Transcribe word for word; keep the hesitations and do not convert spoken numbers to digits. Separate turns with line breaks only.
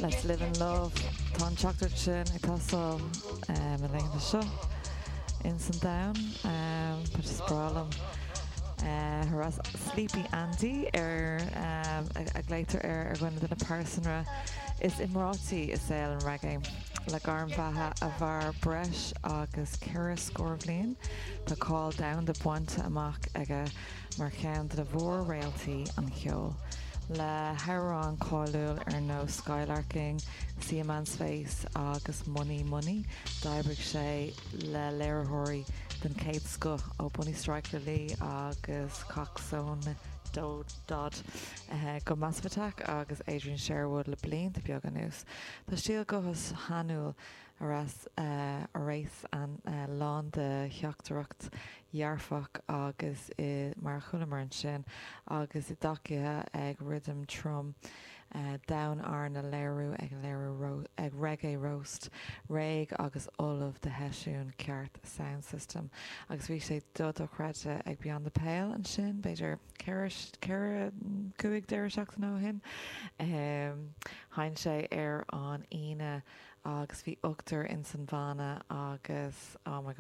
Let's live in love Tá an teachtaireacht sin ag teastáil um, na laethanta seo in san domhan um, Tá sé breá liom. Uh, Horace Sleepy Andy ar um, a, a glaotar air ar dhuine de na pearsanra is iomráití i saol an reggae. Le gairm bheatha a mhair breis agus ceithre scór bliain Tá cáil domhanda bainte amach aige mar cheann de mhór-réaltaí an cheoil. Le hamhráin cháiliúla ar nós Skylarking, See a Man's Face agus Money Money, d'oibrigh sé le léiritheoirí den chéad scoth ó Bunny Striker Lee agus Coxsone Dodd uh, go Massive Attack agus Adrian Sherwood le blianta beaga anuas. Tá stíl gutha shainiúil Horace uh, Horace an uh, lán de theachtaireacht dhearfach agus i mar chulamar ansin agus i dtacaithe ag rithim trom uh, domhain arna léiriú ag léiriú ag reggae roast, réidh agus ullamh do sheisiún ceart sound system. agus bhí sé dochreidte ag Beyond the Pale ansin, b'fhéidir ceithre cúig deireadh seachtaine ó shin. Um, Sheinn sé ar an Aoine agus bhí ochtar in san bhanna agus oh my